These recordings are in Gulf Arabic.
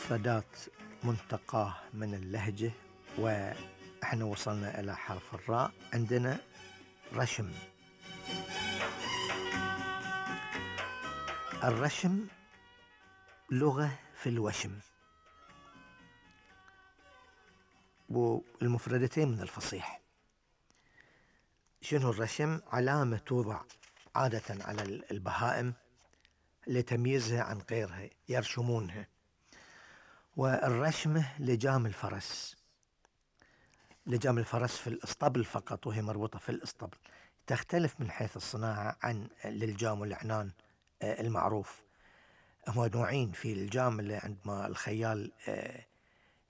مفردات منتقاة من اللهجة، وإحنا وصلنا إلى حرف الراء. عندنا رشم. الرشم لغة في الوشم، والمفردتين من الفصيح. شنو الرشم؟ علامة توضع عادة على البهائم لتمييزها عن غيرها، يرشمونها. والرشمة لجام الفرس، لجام الفرس في الاسطبل فقط، وهي مربوطة في الاسطبل. تختلف من حيث الصناعة عن للجام والعنان المعروف. هو نوعين، في الجام اللي عندما الخيال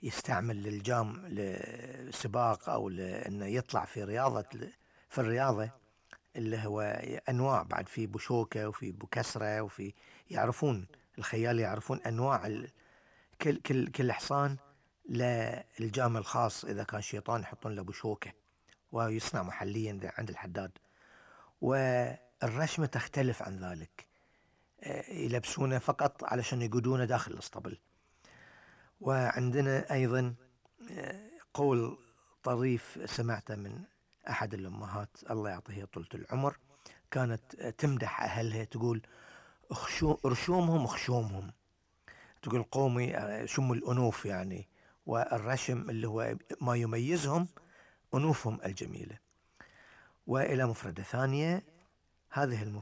يستعمل الجام لسباق أو لأنه يطلع في الرياضة، اللي هو أنواع، بعد في بشوكة وفي بكسرة وفي، يعرفون الخيال، يعرفون أنواع كل حصان للجام الخاص. إذا كان شيطان يحطون له بشوكة، ويصنع محليا عند الحداد. والرشمة تختلف عن ذلك، يلبسونه فقط علشان يقودونه داخل الاسطبل. وعندنا أيضا قول طريف سمعته من أحد الأمهات الله يعطيها طولة العمر، كانت تمدح أهلها تقول رشومهم خشومهم، تقول قومي شم الأنوف يعني، والرشم اللي هو ما يميزهم أنوفهم الجميلة. وإلى مفردة ثانية، هذه المفردة